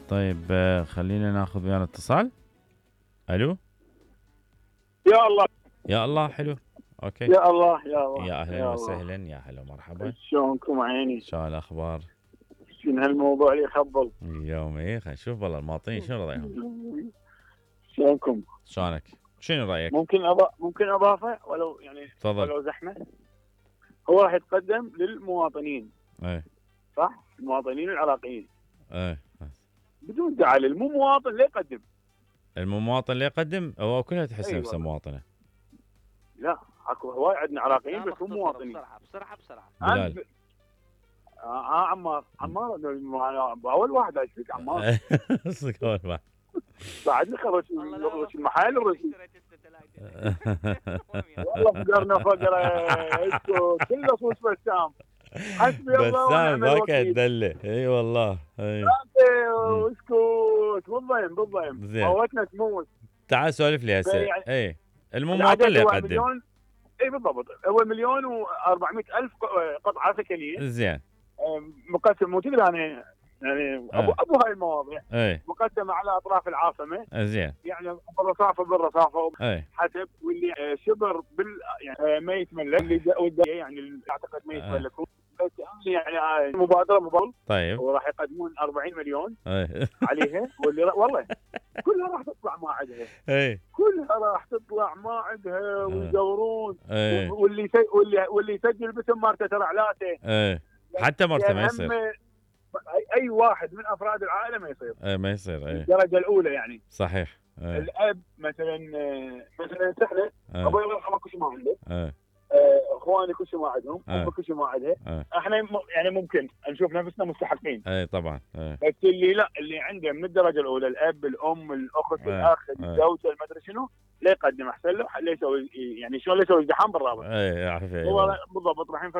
طيب خلينا ناخذ ويانا اتصال. الو. يا الله يا الله حلو. اوكي. يا الله يا الله يا اهلا يا وسهلا، يا هلا ومرحبا. شلونكم عيني؟ شو الاخبار؟ شنو هالموضوع اللي يخبل؟ اليوم ايه خلينا نشوف والله المواطنين شنو رايهم. شلونكم؟ شلونك؟ شنو رايك؟ ممكن اضافه ولو يعني تفضل. ولو زحمه. هو راح يتقدم للمواطنين. ايه صح؟ المواطنين العراقيين. ايه بدون تعليل، مو مواطن لا يقدم. المواطن اللي يقدم هو كلها تحس أيوة. نفسه مواطنه. لا اكو هواي عندنا عراقيين بس مو مواطنين. بسرعه بلال. عمار اول واحد اشوفك عمار. صدق اول واحد. بعدني خرج المحل الرسمي. والله فقرنا فقره اسكت كله صوص بسام. حسبي الله ونعم بسام ذاك الوكيل. الدله. اي والله. اي اسكت بالضيم موتنا تموت. تعال سولف لي هسه. يعني اي المواطن اللي يقدم. اي بالضبط، هو 1,400,000 قطعه سكنيه. زين. مقسم مو تدري انا يعني ابو هاي المواضيع. مقسمه على اطراف العاصمه. زين. يعني بالرصافه حسب، واللي شبر يعني ما يتملك، اللي يعني اعتقد ما يتملكون. بس يعني مبادره طيب وراح يقدمون 40 مليون عليها، واللي والله كلها راح تطلع ما عندها. كلها راح تطلع ما عندها ويدورون. واللي يسجل باسم مرته ترى علاته. حتى مرته ما يصير. اي واحد من افراد العائله ما يصير. ما يصير. الدرجه الاولى يعني. صحيح. الاب مثلا سهله. ابوي الله يرحمه كل شيء ما عنده. اخواني كل شيء ما عندهم. امي كل شيء ما عندها. احنا يعني ممكن نشوف نفسنا مستحقين. طبعا. بس اللي عنده من الدرجه الاولى، الاب الام الاخت الاخ الزوجه المدري شنو، لا يقدم احسن له. لا يسوي يعني شلون لا يسوي ازدحام بالرابط. عارف. هو بالضبط راح ينفتح